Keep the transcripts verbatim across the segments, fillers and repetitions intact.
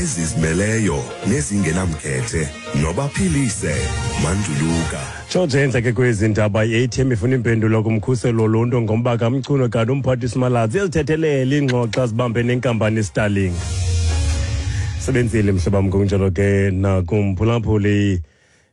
Ezizimeleyo nezingenamkhethe nobaphilise Manduluka. Tshotshe entle ke kwezi ndaba, i-A T M ifuna impendulo kumkhuselo woluntu ngomba kaMchunu, kanti umphathiswa Malatsi uyazithethelela iingxoxo azibambe nenkampani Starlink. Sebenzile mhlobo, ngokunjalo ke nakumphulaphuli.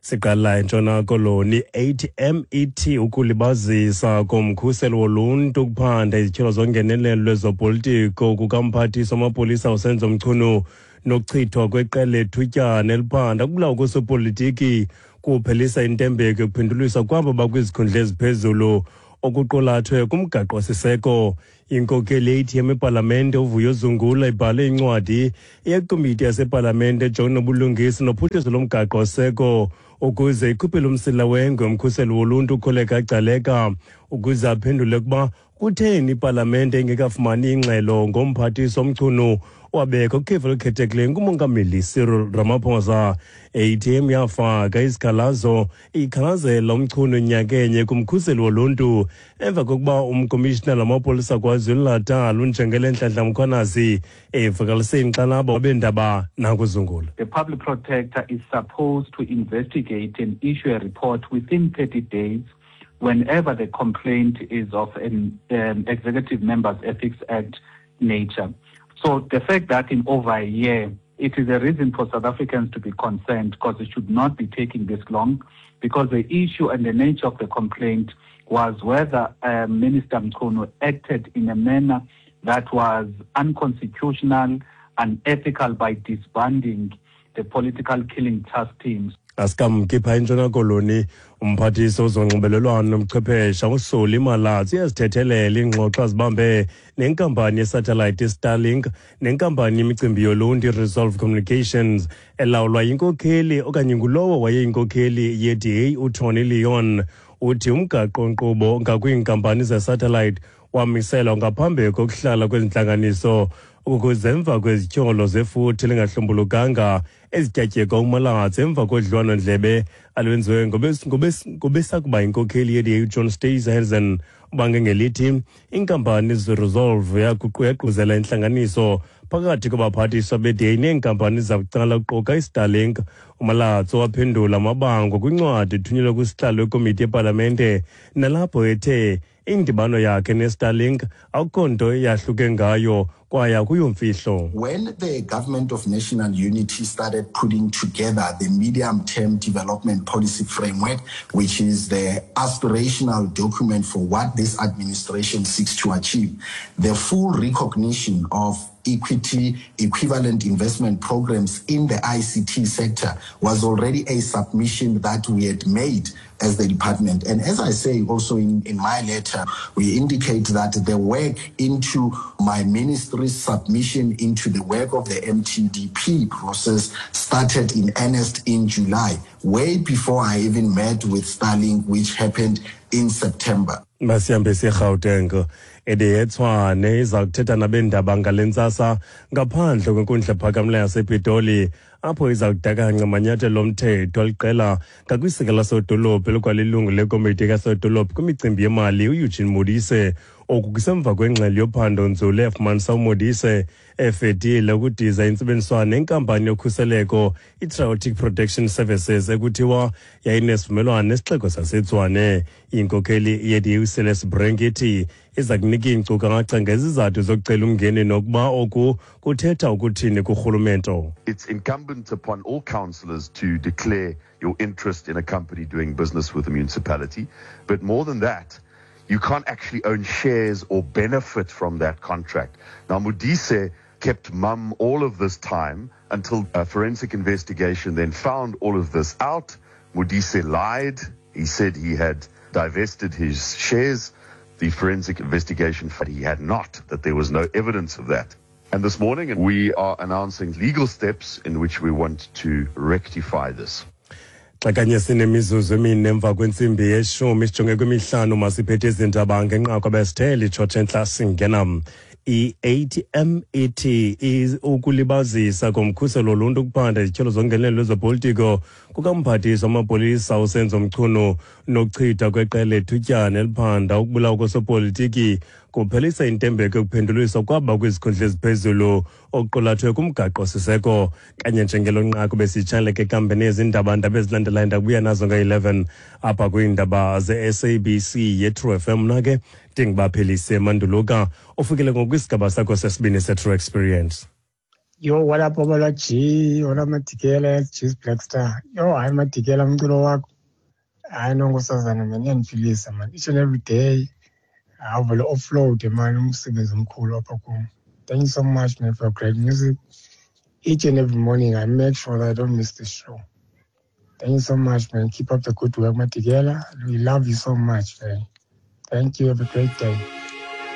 Siqala eNtshona Koloni. A T M ithi ukulibazisa komkhuselo woluntu ukuphanda izityholo zongenelelo lwezopolitiko kukamphathiswa wamapolisa uSenzo Mchunu nokuchithwa kweqela lethutyana eliphanda ukubulawa kosopolitiki kuphelisa intembeko yokuphenduliswa kwabo bakwizikhundla eziphezulu okuqulathwe kumgaqo-siseko. Inkokeli ye-A T M epalamente uVuyo Zungula ibhale incwadi yekomiti yasepalamente ejongene nobulungisa nophuhliso lomgaqo-seko ukuze ikhuphele umsila wengwe umkhuseli woluntu uKholeka Gcaleka ukuze aphendule ukuba kutheni ipalamente ingekafumani ingxelo ngomphathiswa Mchunu wabekho kukhefu elikhethekileyo ngumongameli Cyril Ramaphosa. A T M yafaka isikhalazo ikhalazela uMchunu nyakenye kumkhuseli woluntu emva kokuba umkomishinala wamapolisa KwaZulu-Natal uNjengele Nhlanhla Mkhwanazi evakalise inkxalabo beendaba nakuZungula. The public protector is supposed to investigate and issue a report within thirty days whenever the complaint is of an um, Executive Members Ethics Act nature. So the fact that in over a year, it is a reason for South Africans to be concerned, because it should not be taking this long, because the issue and the nature of the complaint was whether uh, Minister Mchunu acted in a manner that was unconstitutional, unethical by disbanding the political killing task teams. Asikamki phaa eNtshona Koloni. Umphathiswa wezonxibelelwano nobuchwephesha uSolly Malatsi uyazithethelela iingxoxo azibambe nenkampani yesatellite Starlink nenkampani yemicimbi yoluntu iResolve Communications elawulwa yinkokheli okanye ngulowo wayeyinkokheli ye-D A uTony Leon. Uthi umgaqo-nkqubo ngakwiinkampani zesatellite wamiselwa ngaphambi kokuhlala kwezintlanganiso ukuze emva kwezityholo zefuthe lingahlumbulukanga ezityatyekwa uMalatsi emva kodliwano-ndlebe alwenziwe ngobesakuba yinkokheli ye-D A uJohn Steenhuisen. Ubange ngelithi inkampani zeResolve yaququzela intlanganiso phakathi kwabaphathiswa be-D A neenkampani zabucala kuquka iStarlink. UMalatsi waphendula amabango kwincwadi ethunyelwe kwisihlalo wekomiti yepalamente nalapho ethe indibano yakhe neStarlink akukho nto yahluke ngayo kwaye akuyomfihlo. When the government of national unity started putting together the medium term development policy framework, which is the aspirational document for what this administration seeks to achieve, the full recognition of equity equivalent investment programs in the I C T sector was already a submission that we had made as the department. And as I say also in, in my letter, we indicate that the work into my ministry's submission into the work of the M T D P process started in earnest in July, way before I even met with Starlink, which happened in September. Masihambe siyeGauteng. I D A eTshwane iza kuthetha nabeendaba ngale ntsasa ngaphandle kwenkundla ephakamileyo yasePitoli apho iza kudakanca amanyathelo omthetho aliqela ngakwisekela lasodolophu elikwalilungu lekomiti kasodolophu kwimicimbi yemali uEugene Modise. Oku kusemva kwengxelo yophando nzulu efumanisa uModise efetile ukudiza intsebenziswano nenkampani yokhuseleko iTriotic Protection Services ekuthiwa yayinesivumelwano nesixeko saseTshwane. Inkokheli ye-D A uCeleste Brink ithi iza kunika iinkcukacha ngezizathu zokucela umngeni nokuba oku kuthetha ukuthini kurhulumento. It's incumbent upon all councillors to declare your interest in a company doing business with the municipality. But more than that, you can't actually own shares or benefit from that contract. Now, Modise kept mum all of this time until a forensic investigation then found all of this out. Modise lied. He said he had divested his shares. The forensic investigation found he had not, that there was no evidence of that. And this morning, we are announcing legal steps in which we want to rectify this. Xa kanye sinemizuzu emine emva kwentsimbi yeshumi sijonge kwimihlanu, masiphethe izindaba ngenqaku abesithe litshotshe entla singena. I-A T M ithi ukulibazisa komkhuselo woluntu ukuphanda izityholo zongenelelo lwezopolitiko kukamphathiswa wamapolisa uSenzo Mchunu nokuchitha kweqela lethutyana eliphanda ukubulawa kosopolitiki Kuphelisa intembeko yokuphenduliswa kwaba kwizikhundla eziphezulu okuqulathwe kumgaqo-siseko. Kanye njengelo nqaku besitshaleke kambe nezindaba ndaba ezilandelayo ndakubuya nazo nge-eleven apha kwiindaba ze-S A B C ye-True F M. Mna ke ndingubaphelise Manduluka, ufikile ngokwisigaba sakho sesibini se-True Experience. Yo, what up, Obala G? What up, Matikela? G's Black Star. Yo, hayi Matikela, umculo wakho. Hayi nonkosazana, man, iyandiphilisa, man. Each and every day, avele offload, man, umsebenzi omkhulu apha kum. Thank you so much, man, for your great music. Each and every morning, I make sure that I don't miss the show. Thank you so much, man. Keep up the good work, Matikela. We love you so much, man. Thank you. Have a great day.